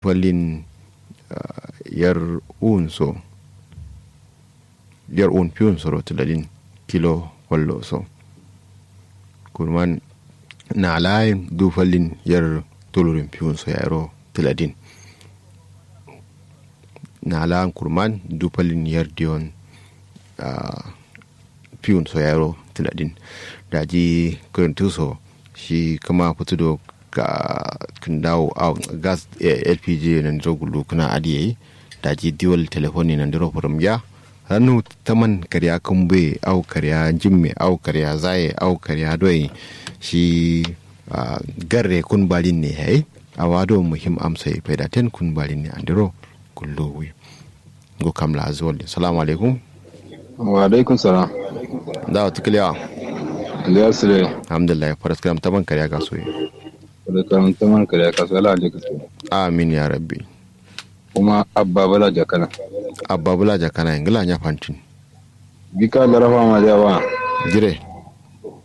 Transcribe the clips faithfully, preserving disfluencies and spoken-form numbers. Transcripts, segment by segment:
Fallin yar uwun so, yar uwun fiwun soro tǝladin kilo fallo so. Kurman na'ala yen du fallin yar tulurin fiwun so yayiro tǝladin. Na'ala yen kurman du fallin yar diwon fiwun so yayiro tǝladin. Daji kǝrǝntǝ so shi kǝma fǝtǝ do ka kǝndawo au gas lpg nandiro gullu kǝna adǝ yayi. Daji diwol telefon ye nandiro fǝrǝm giya. Rannu taman karya kǝmbuye au karya njimme au karya zaye au karya doye shi garre kun balin ne yayi. Awa do muhim amso ye faida ten kun balin ne andiro gullu wi. Ngo kam la azuwal din. Salamu alaikum. Wa alaikum salam. Dawa tukliya. Aliya sule. Alhamdulillah, faraskaram taman karya kaso ye. Faraskaram taman karya kaso ala alaikum salam. Amin ya rabbi. Kuma abba bula jakana. Abba bula jakana ngla nya fantin. Bika larafa ma jawa. Jire.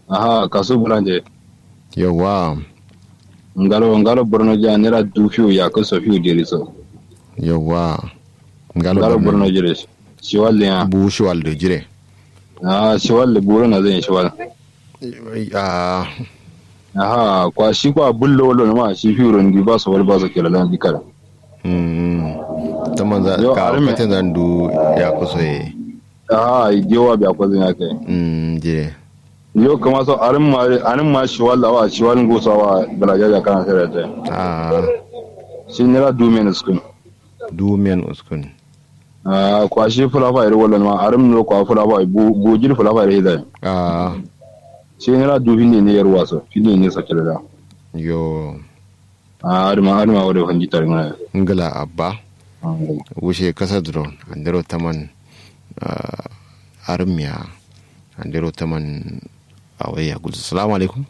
Aha kasu bulanje. Yawa. Ngalo ngalo borno ja nera du fiu ya kaso fiu deri so. Yawa. Ngalo borno jire. Shiwal ya bu shiwal de jire. Ah shiwal de buru na zan shiwal. Ah. Aha kwa shi kwa bullo lo ma shi fiu ron di ba so wal ba so kela lan dikara. Mm. Taman za ka katen zan du ya kuso ye. Ah jewa biya ko zan ya kai. Mm je. Yo kama so arin ma arin ma shiwal awa shiwal ngusa wa balaja ja kana sere te. Ah. Shi nera du men uskun. Du men uskun. Ah kwa shi fulafa iri wallan ma arim no kwa fulafa bu bu jiri fulafa iri hidai. Ah. Shi nera du finde ne yarwa so finde ne sakira da. Yo. Ah aduma aduma wode fandi tarin ngla abba. Wushe kasa duro andero taman. Arim ya andero taman. Awai ya gudu salamu alaikum.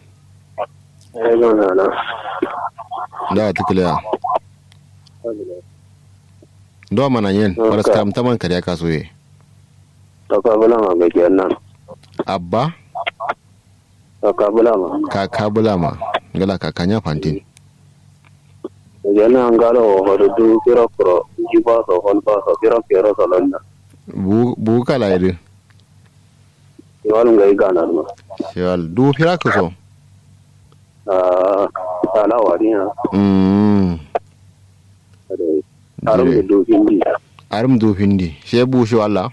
Alaikum salam. Dawa tukliya. Ndo mana nyen faraskaram taman karya kaso ye. Kaka bulama ga jennan. Abba. Kaka bulama. Kaka bulama. Ngla kaka nya fantin. Ga jennan ngalo hodo du kiro kuro jiba so hon ba so kiro kiro so lonna. Bu bu kala ide. Shiwal ngai gana duma. Shiwal du fira kuso. Ah ala wadiya. Mm. Arum du du hindi. Arum du hindi she bu shiwal la.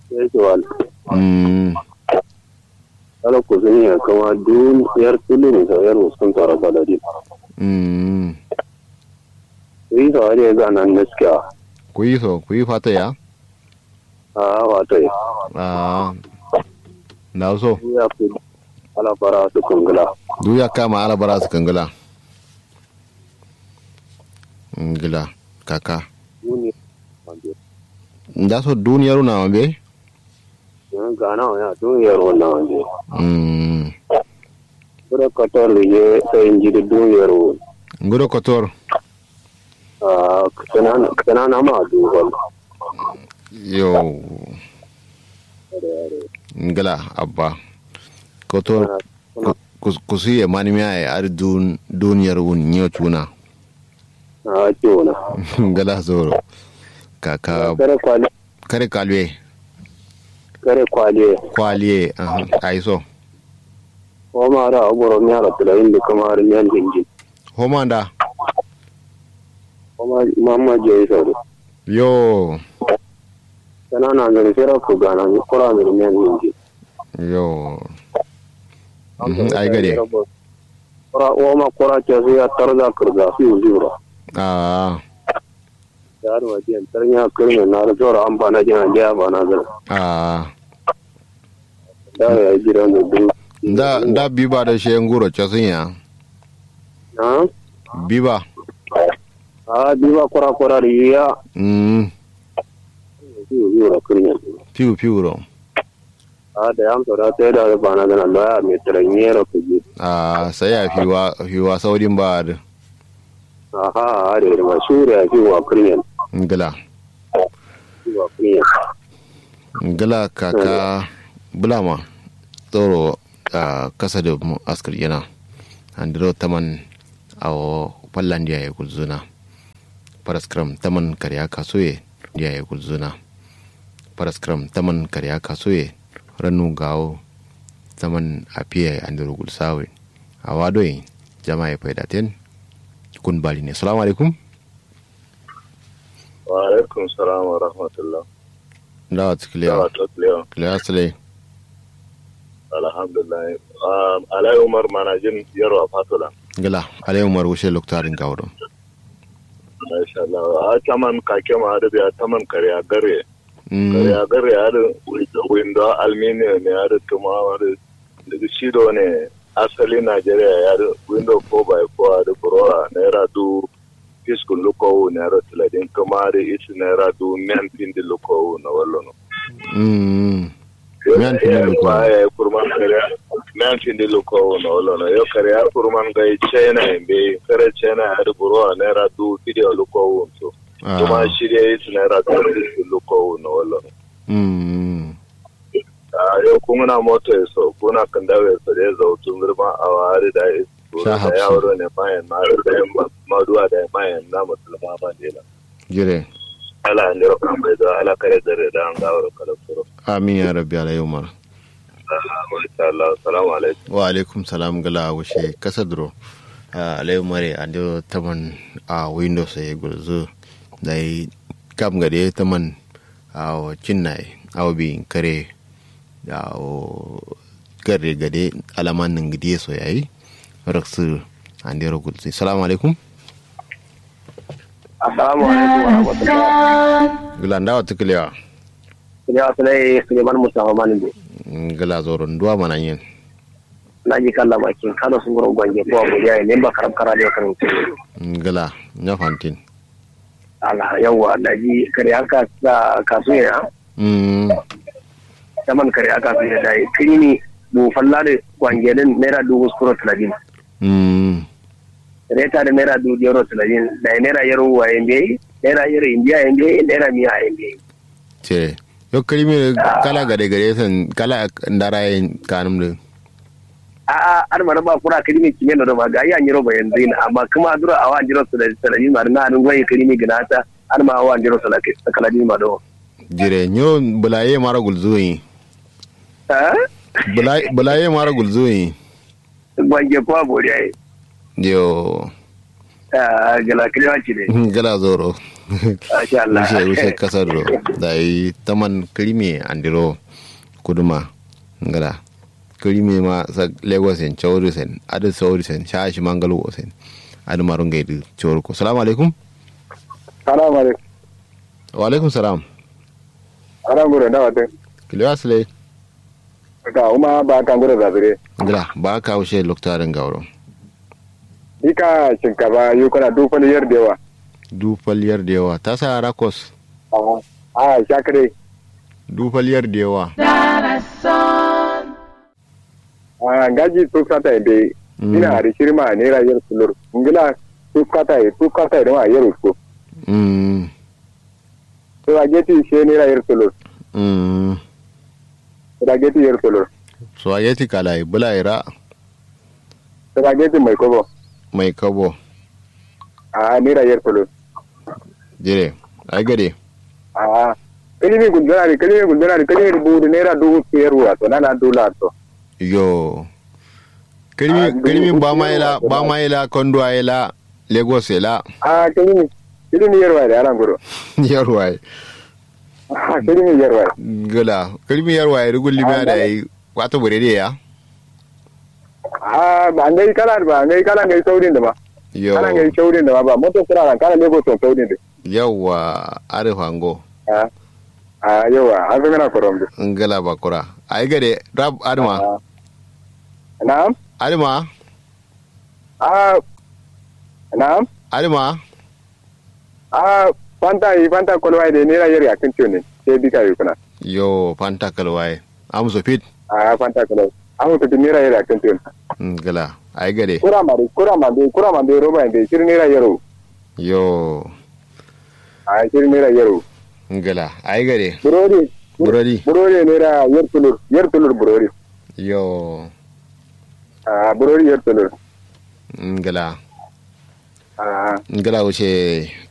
She shiwal. Mm. Ala kusuni ya kama dun yar tulun sa yar uskun tara baladi. Mm. Kuyi so ade gana naskiya. Kuyi so kuyi fata ya. Ah wato. Ah. Na so. Ala bara su kungula. Du ya kama ala bara su kungula. Ngla kaka. Nda so duniyar na wambe. Gana ya duniyar na wambe. Mm. Bura katar ye sai inji duniyar. Nguro katar. Kanana ma duhol. Yo. Ngla abba koto. Kusu ye mani miya ye ari duniyar wun nyo cuna. Ngla zoro. Kaka kare kwalwe. Kare kwalwe. Kwalwe. Ayi so. Homa da aboro miya da tulayin da kuma har miyan jinjin. Homa da. Homa mamma je yi sauri. Yo. Sana na ngani sera ku gana ni kura ngani miyan jinjin. Yo. Ai gade. Kura homa kura ce su ya tarza kurza su yi zura. Ah. Yaro ma jiyan tarnya kirme na da zoro an bana jina da ya bana zara. Ah. Da ya jira mu du. Nda nda biba da she nguro casun ya. Ha? Biba. Ah biba kura kura riya. Mm. Fiu fiu ro kirme. Fiu fiu ro. Ah da yam so da sai da bana zana loya me taranye ro kuji. Ah sai ya fiwa fiwa saudin ba da. Aha are ma shure a fiwa kuryen. Ngla. Fiwa kuryen. Ngla kaka bulama tsoro. Kasa da mu askar yana andiro taman. Awo fallandiya ya gulzuna. Faraskram taman karya kasuye. Yaye gulzuna. Faraskram taman karya kasuye. Rannu gawo. Taman afiye andiro gulsawe. Awa doye. Jama'a ye faida ten. Kun bari ne, salamu alaikum. Wa alaikum salam wa rahmatullah. Ndawa tuklewa? Ndawa tuklewa? Klewa sule. Alhamdulillah. Alai umar manajin yarwa fatola. Gla alai umar wushe loktarin gawdo. Masha Allah. A taman kake ma adu biya taman kare a gare. Kare a gare adu. Windo alminium ne adu tuma adu. Shido ne asali nigeria ya adu windo four by four adu burora naira du. Fiskun lukowu naira tiladin kuma adu isi naira du men findi lukowu na wallono. Miyan findi luko. Miyan findi luko no lono yo kare ya kurman gai china embe kare china ya du buro naira du video luko so. Kuma shirya yi naira du luko no lono. Mm. A yo kunguna moto so kuna kandawe so de zo tun zurban awari da. Sha hafsu. Maduwa da mayan na musulma ma dela. Jire. Ala andiro kambe do ala kare dare da an gawaro kala suro. Amin ya rabbi alai umar. Masha Allah. Salamu alaikum. Wa alaikum salam gala wushe kasa duro. Alai umar andiro taman a windows ya gulzu. Dai kam gade taman a cinnaye a bi kare. Awo garre gade alaman ningidi ye so yayi. Raksu andero gulsi salamu alaikum. Assalamu alaikum wa rahmatullah. Gla ndawa tukulewa? Kulewa sulai suleiman mustafa maninde. Gla zoro nduwa mananyen? Naji kalla makin kano sunguro gwange ko abuja ye nemba karab kara de kan. Gla nya fantin. Ala yawwa daji kare aka kasu ya. Taman kare aka kasu ya dai kirimi bu falla de gwange din naira dubu sukuro tiladin. Reta de naira dubu diyaro tiladin dai naira yaro waye mbeyi naira yaro indiya ye mbeyi naira miya ye mbeyi. Te yo kirimi kala gade gade san kala ndara ye kanum de. A'a adǝma dǝ ba kura kǝrimi kime nodo ma gayi anyiro bayanzǝ yin amma kǝma duro awo anyiro sanadin ma dǝ na adǝ ngoye kǝrimi gǝnata. Adǝma awo anyiro sanadin ma do. Jire nyiro bǝlaye maro gulzuyin. Bǝlaye maro gulzuyin. Gwange kwa boriya ye. Yo. Gala kǝlewa cide. Gala zoro. Masha Allah. Wushe wushe kasar ro. Dayi taman kǝrimi andiro. Kuduma. Gala. Kǝrime ma sak lagos en cauri sen adǝ sauri sen sha shimangal wo sen. Adǝ maro ngai dǝ cauri ko salamu alaikum. Salamu alaikum. Wa alaikum salam. Ala nguro nda wate. Kǝlewa sǝlai. Ka uma ba ka nguro zazire. Ngla ba ka wushe lokta dǝ ngauro. Ika shinkafa yu kuna du fal yar da yawa. Du fal yar da yawa tasa rakos. A sha kǝdai. Du fal yar da yawa. A ngaji tufkata ye mbeyi. Ina adǝ shirima naira yer tulur ngla. Tufkata ye tufkata ye dǝma yer uskǝ. Spaghetti she naira yer tulur. Spaghetti yer tulur. Spaghetti kala ye bǝla ye ra. Spaghetti mai kobo. Mai kobo. A naira yer tulur. Jire ai gade. A kǝlimi gulzana dǝ kǝlimi gulzana dǝ kǝlimi dǝ buwu dǝ naira dubu yer wura so nana dula so. Yo. Kǝlimi bama ye la bama ye la konduwa ye la. Lagos ye la. A kǝlimi kǝlimi yerwa ye dǝ ala nguro. Yerwa ye. A kǝlimi yerwa ye. Gǝla kǝlimi yerwa ye dǝ gullimi ya dayi. Wato buredi ya. A ba ngai kala ba ngai kala ngai saudin dǝ ma. Yo kala ngai saudin dǝ ma ba moto kura lan kala lagos son saudin dǝ. Yawwa. Adǝ fango. A yawwa. An sǝngana korom dǝ. Ngala ba kura. Ayi gade rab adǝma. Na'am. Adǝma. A na'am. Adǝma. A fanta yi fanta kolwaye de naira yer yakkǝn tiyo ne. Sai bika yi kuna. Yo fanta kolwaye. Amso fit. A fanta kolwaye. Amso fit naira yer yakkǝn tiyo ne. Ngla. Ayi gade. Kura ma de kura ma de kura ma de roba de shir naira yero. Yo. A shir naira yero. Ngla ayi gade. Burodi. Burodi. Burodi naira yer tulur yer tulur burodi. Yo. A burodi yer tulur. Ngla. Ngla wuce.